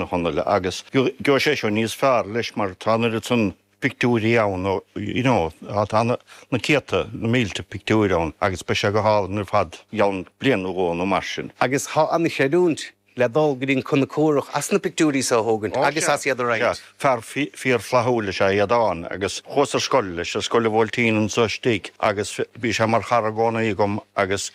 A Chonaill, agus gheobhaidh sé seo níos fearr leis mar tá an oiread san pictiúirí ann, you know, tá na céadta, na mílte pictiúir ann agus beidh sé go hálainn ar fad i gceann bliain nó dhó nó mar sin. Agus tá an-chreidiúint le dul go dtí an Conchúrach as na pictiúirí so a thógaint agus as iad a roinnt. Sea, fear fíor-fhlaithiúil is ea Aodán agus chuas ar scoil leis, ar Scoil an Bhuailtín anso istigh agus bhí sé mar chara i gcónaí agam agus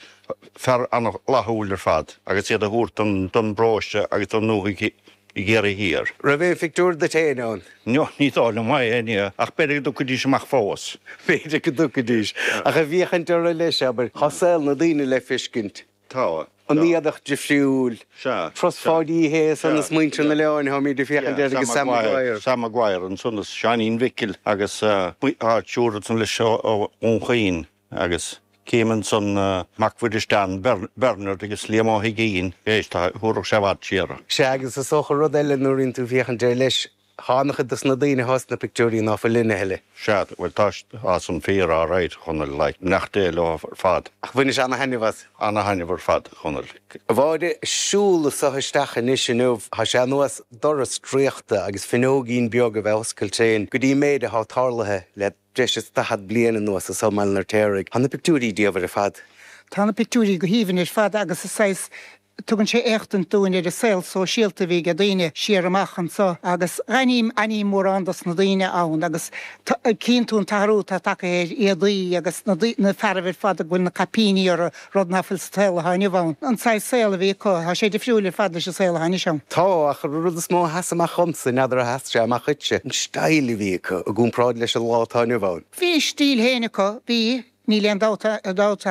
fear an-fhlaithiúil ar fad agus iad a thabhairt don bparóiste agus don ndúthaigh i gCiarraí Thiar. Raibh aon phictiúr duit féin ann? No, ní dóigh liom é, ní, ach b'fhéidir go dtiocfaidís amach fós. B'fhéidir go dtiocfaidís. Ach ag féachaint orthu leis, abair, tá saol na daoine le feiscint. Tá. An éadach difriúil. Sea. Turas Pháidí Uí Shé ansan is muintir an oileáin, táimid ag féachaint air agus Sam Maguire. Sam Maguire ansan is Seáinín Mhicil agus tá triúr ansan leis ó Dhún Chaoin. Agus cím ansan Mac Mhuiris Dan, Bernard agus Liam Ó hUiginn, éist, tá, thabharfadh sé i bhfad siar. Sea, agus is dócha rud eile nuair a bhíonn tú ag féachaint air leis, tá an-chuid dos na daoine atá sna pictiúirí ná fuil linn a thuilleadh. Sea, bhuel tá, tá san fíor alright, a Chonaill, like, beannacht Dé leo ar fad. Ach bhainis ana-thaitneamh as. Ana-thaitneamh ar fad, a Chonaill. A Mháire, siúl anso isteach anois inniu, tá sé ar nós doras draíochta agus fuinneoigín beag a bheith oscailte againn go dtí an méid atá tarlaithe le breis is 40 bliain anuas anso i mBaile an Fheirtéaraigh. Tá na pictiúirí diamhair ar fad. Tá na pictiúirí go haoibhinn ar fad agus is saghas, tugann sé éachtaint dúinn ar an saol sóisialta a bhí ag daoine siar amach anso agus aithním, aithním mórán dos na daoine ann agus cíonn tú an t-athrú atá tagtha ar éadaí agus na, na fearaibh ar fad go bhfuil na caipíní orthu rud ná fuil sa tsaol atá inniu ann. An saghas saol a bhí acu, tá sé difriúil ar fad leis an saol atá anois ann. Tá, ach an rud is mó a sheas amach dhomsa, n'fheadar ar sheas sé amach dhuitse, an style a bhí acu i gcomparáid leis an lá atá inniu ann. Bhí a stíl féin acu, bhí, níl aon dabht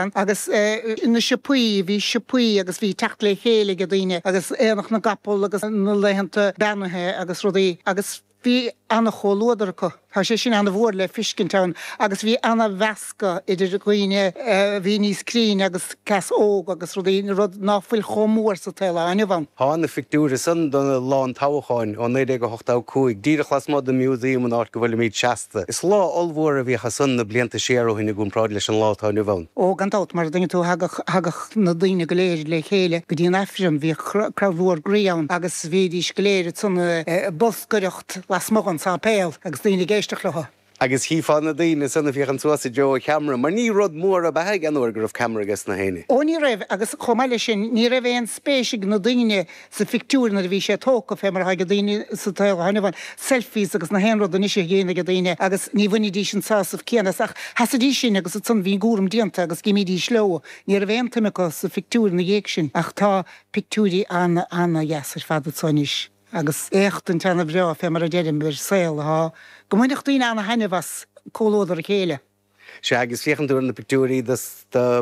ann, agus na siopaí, bhí siopaí agus bhí teacht le chéile ag daoine agus aonach na gcapall agus na laethanta beannaithe agus rudaí agus Bhí ana-chomhluadar acu. Tá sé sin ana-mhór le fiscint ann agus bhí ana-mheascadh idir dhaoine a bhí níos críne agus aos óg agus rudaí, rud ná fuil chomh mór sa tsaol atá inniu ann. Tá na pictiúir san do lá an toghcháin ó 1985, díreach lasmuigh den Museum an áit go bhfuilimid seasta. Is lá ollmhór a bhíodh ansan na blianta siar ó shin i gcomparáid leis an lá atá inniu ann. Ó, gan dabht, mar a dtuigeann tú, thagadh, thagadh na daoine go léir le chéile go dtí an Aifreann, bhíodh crowd mhór groí ann agus bhídís go léir ansan ag bolscaireacht lasmuigh den sáipéal agus daoine ag éisteacht leo. Agus chífeá na daoine san ag féachaint suas i dtreo an cheamara, mar ní rud mór ab ea ag an uair go raibh ceamara ages na héinne. Ó ní raibh, agus chomh maith leis sin, ní raibh aon spéis ag na daoine sa phictiúr nuair a bhí sé tógtha, fé mar atá ag daoine sa tsaol atá inniu ann, selfies agus na haon rud anois a dhéanamh ag daoine agus ní bhainidís an sásamh céanna as ach sheasaidís sin agus ansan bhí an cúram déanta agus d'imídís leo. Ní raibh aon tsuim acu sa phictiúr ina dhiaidh sin ach tá pictiúirí ana-ana-dheas ar fad anso anois. Agus éachtaint ana-bhreá, fé mar a deirim, ar saol atá go mbainfeadh daoine ana-thaitneamh as comhluadar a chéile. Sea, agus féachann tú ar na pictiúirí de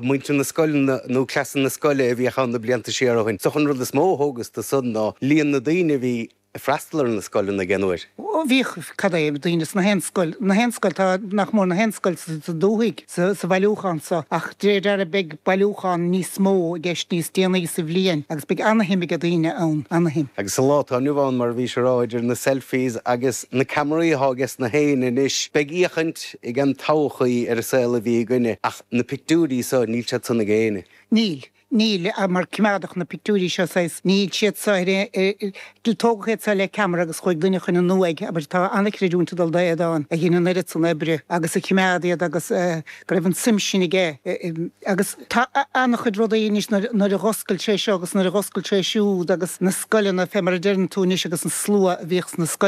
mhuintir na scoileanna nó cleasanna scoile a bhíodh ann na blianta siar ó shin. Is dócha an rud is mó a thógas de san ná líon na daoine a bhí ag freastal ar na scoileanna ag an uair. Ó, bhíodh, cad é, daoine sna haon scoil, na haon scoil, tá nach mór na haon scoil sa dúthaigh sa bhailiúchán so, ach de réir dealraimh beidh bailiúchán níos mó i gceist níos déanaí sa bhliain agus beidh ana-shuim ag daoine ann, ana-shuim. Agus sa lá atá inniu ann, mar a bhís a rá, idir na selfies agus na ceamaraí atá ages na héinne anois, beidh éachaint ag an todhchaí ar an saol a bhí againne, ach na pictiúirí so, níl siad san ag éinne. Níl. Níl, mar coimeádadh na pictiúirí seo saghas, níl siad so ar aon, tógadh iad so le ceamara agus chuaigh duine chun an uaigh, abair, tá an-chreidiúint ag dul d'Aodán a dhein an oiread san oibre agus a choimeád iad agus go raibh an tsuim sin aige agus tá an-chuid rudaí anois nuair a dh'oscail sé seo agus nuair a dh'oscail sé siúd agus na scoileanna fé mar a deireann tú anois agus an slua a bhíodh sna scoileanna.